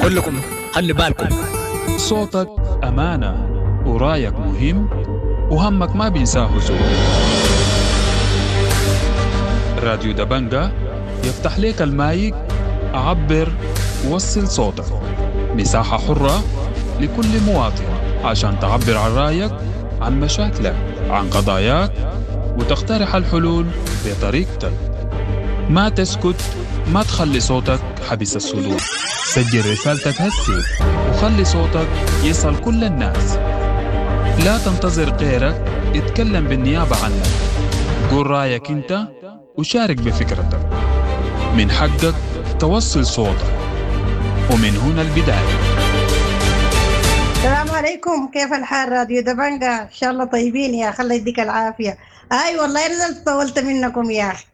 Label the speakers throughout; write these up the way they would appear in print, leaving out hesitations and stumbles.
Speaker 1: كلكم خلي بالكم.
Speaker 2: صوتك أمانة ورايك مهم وهمك ما بينساه زول. راديو دبنجة يفتح لك المايك، عبر وصل صوتك، مساحة حرة لكل مواطن عشان تعبر عن رأيك، عن مشاكلك، عن قضاياك، وتقترح الحلول بطريقتك. ما تسكت، ما تخلي صوتك حبس الصدور. سجل رسالتك هسي وخلي صوتك يصل كل الناس. لا تنتظر غيرك يتكلم بالنيابة عنك. قول رأيك انت وشارك بفكرتك. من حقك توصل صوتك، ومن هنا البداية.
Speaker 3: السلام عليكم، كيف الحال راديو دبنجة؟ ان شاء الله طيبين يا اخي، الله يديك العافية. اي والله نزلت طولت منكم يا اخي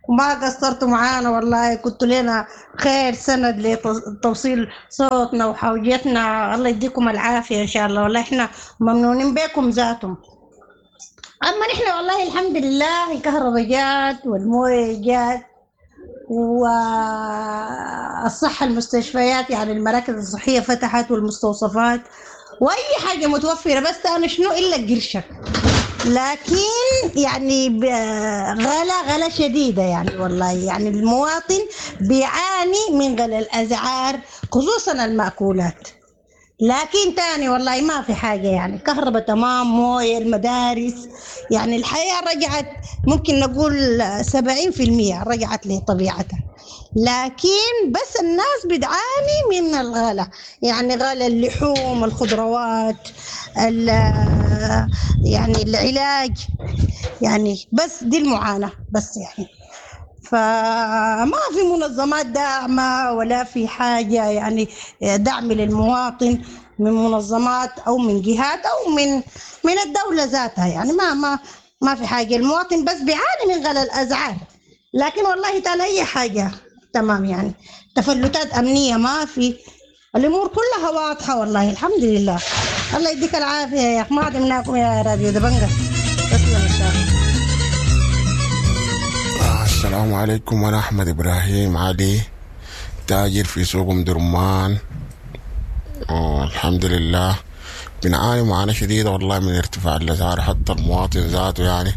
Speaker 3: وما قصرتوا معانا والله، كنتوا لنا خير سند لتوصيل صوتنا وحوجتنا. الله يديكم العافية ان شاء الله، والله احنا ممنونين بكم ذاتهم. اما نحن والله الحمد لله الكهرباء جات والمويه جات والصحة، المستشفيات يعني المراكز الصحية فتحت والمستوصفات وأي حاجة متوفرة، بس أنا شنو إلا قرشك. لكن يعني غلا غلا شديدة يعني والله، يعني المواطن بيعاني من غلا الأسعار خصوصا المأكولات. لكن تاني والله ما في حاجة يعني، كهرباء تمام، موية، المدارس، يعني الحياة رجعت ممكن نقول 70% رجعت لطبيعتها. لكن بس الناس بتعاني من الغلا، يعني غلا اللحوم، الخضروات، يعني العلاج، يعني بس دي المعاناة بس يعني. فما في منظمات داعمة ولا في حاجة يعني دعم للمواطن من منظمات أو من جهات أو من الدولة ذاتها، يعني ما في حاجة. المواطن بس بيعاني من غلاء الأسعار، لكن والله تاني أي حاجة تمام يعني، تفلتات أمنية ما في، الأمور كلها واضحة والله الحمد لله. الله يديك العافية يا أخي، ما عدمناكم يا راديو دبنجة. تسلم إن شاء الله.
Speaker 4: السلام عليكم، أنا أحمد إبراهيم علي، تاجر في سوق أم درمان. الحمد لله بنعاني معاناة شديدة والله من ارتفاع الأسعار، حتى المواطن ذاته يعني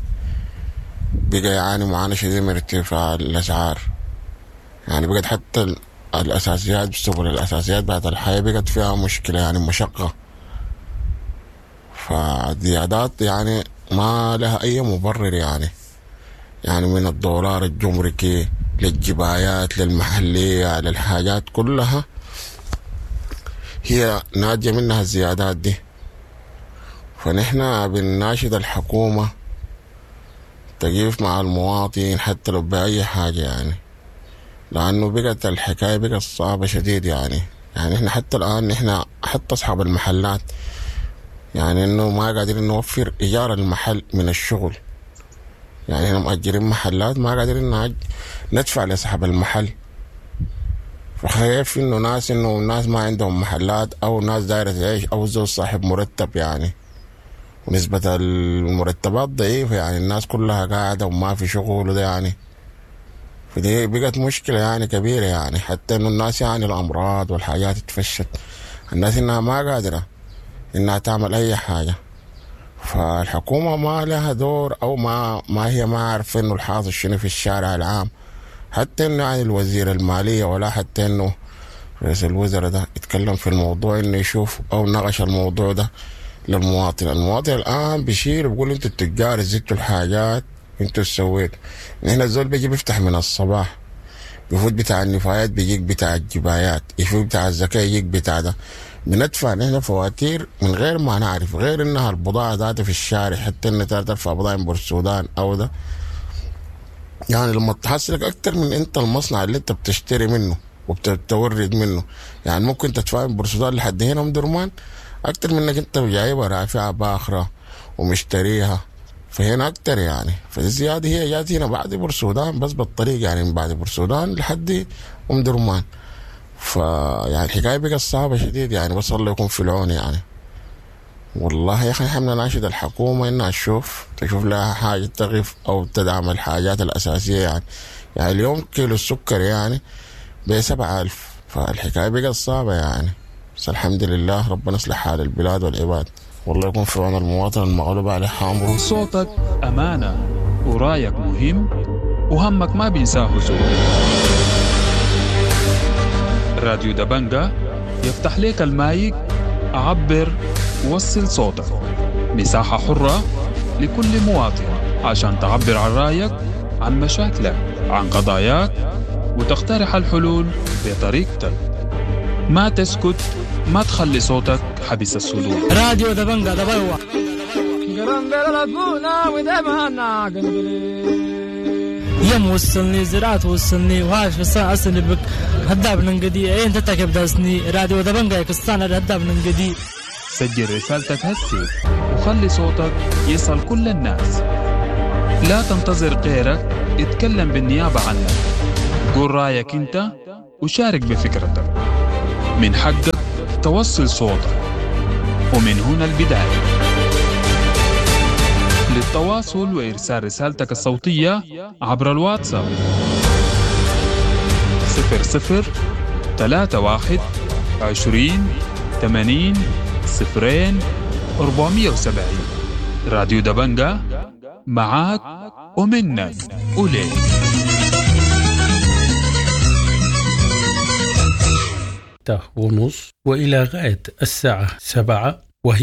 Speaker 4: بقى يعاني معاناة شديدة من ارتفاع الأسعار. يعني بقت حتى الأساسيات، بسبب الأساسيات بعد الحياة بقت فيها مشكلة يعني مشقة. فالزيادات يعني ما لها أي مبرر يعني، يعني من الدولار الجمركي للجبايات للمحلية للحاجات كلها هي ناتجة منها الزيادات دي. فنحن بنناشد الحكومة تقيف مع المواطن حتى لو بأي حاجة يعني، لأنه بقت الحكاية بقت صعبة شديد يعني. يعني إحنا حتى الآن إحنا حتى أصحاب المحلات يعني إنه ما قادرين نوفر إيجار المحل من الشغل، يعني إحنا مأجرين محلات ما قادرين ندفع لصاحب المحل. فخايف إنه ناس، إنه ناس ما عندهم محلات أو ناس دايرة تعيش أو زول صاحب مرتب يعني، ونسبة المرتبات ضعيفة يعني، الناس كلها قاعدة وما في شغل وده يعني. فدي بقت مشكلة يعني كبيرة يعني، حتى إنه الناس يعني الأمراض والحاجات اتفشت، الناس إنها ما قادرة إنها تعمل أي حاجة. فالحكومة ما لها دور أو ما هي ما عارفة إنه الحاصل شنو في الشارع العام، حتى إنه يعني الوزير المالية ولا حتى إنه رئيس الوزراء ده يتكلم في الموضوع، إنه يشوف أو ناقش الموضوع ده للمواطن. المواطن الآن بيشيل وبيقول أنتوا التجار زدتوا الحاجات، أنتوا سويتوا. نحن الزول بيجي بيفتح من الصباح، بيفوت بتاع النفايات بيجيك بتاع الجبايات، يفوت بتاع الزكاة يجيك بتاع ده. بندفع نحن فواتير من غير ما نعرف، غير إنها البضاعة ذاتها في الشارع، حتى إن ترفع بضاعة من بورسودان أو ده يعني لما تحصلك أكتر من أنت المصنع اللي أنت بتشتري منه وبتورد منه، يعني ممكن تدفع من بورسودان لحد هنا من درمان أكتر من إنك أنت جايبها رافعة باخرة ومشتريها، فهنا أكتر يعني. فالزيادة هي جات هنا بعد بورسودان بس بالطريق يعني، من بعد بورسودان لحد أم درمان. فيعني الحكاية بقت صعبة شديد يعني، بس الله يكون في العون يعني. والله يا أخي نحن نناشد الحكومة إنها تشوف لها حاجة تغف أو تدعم الحاجات الأساسية يعني. يعني اليوم كيلو السكر يعني ب7,000، فالحكاية بقت صعبة يعني. بس الحمد لله ربنا يصلح حال البلاد والعباد، والله يكون في عون المواطن المغلوب عليه أمره.
Speaker 2: صوتك أمانة ورايك مهم وهمك ما بينساه زول. راديو دبنجة يفتح لك المايك، عبر وصل صوتك. مساحة حرة لكل مواطن عشان تعبر عن رأيك، عن مشاكلك، عن قضاياك، وتقترح الحلول بطريقتك. ما تسكت، ما تخلي صوتك حبس الصدور.
Speaker 1: راديو دبنجة دبلوة. يم وصلني زراعة وصلني وهاش في أصلي بك هداب ننقدي اين تتكب داسني راديو دبنجة كستان هداب ننقدي.
Speaker 2: سجل رسالتك هسي وخلي صوتك يصل كل الناس. لا تنتظر غيرك يتكلم بالنيابة عنك. قول رايك انت وشارك بفكرتك. من حقك توصل صوتك، ومن هنا البداية. للتواصل وإرسال رسالتك الصوتية عبر الواتساب 00 31 20 80 0 470. راديو دبنجة معاك ومنك وليك.
Speaker 5: 6:30 وإلى غاية الساعة 7.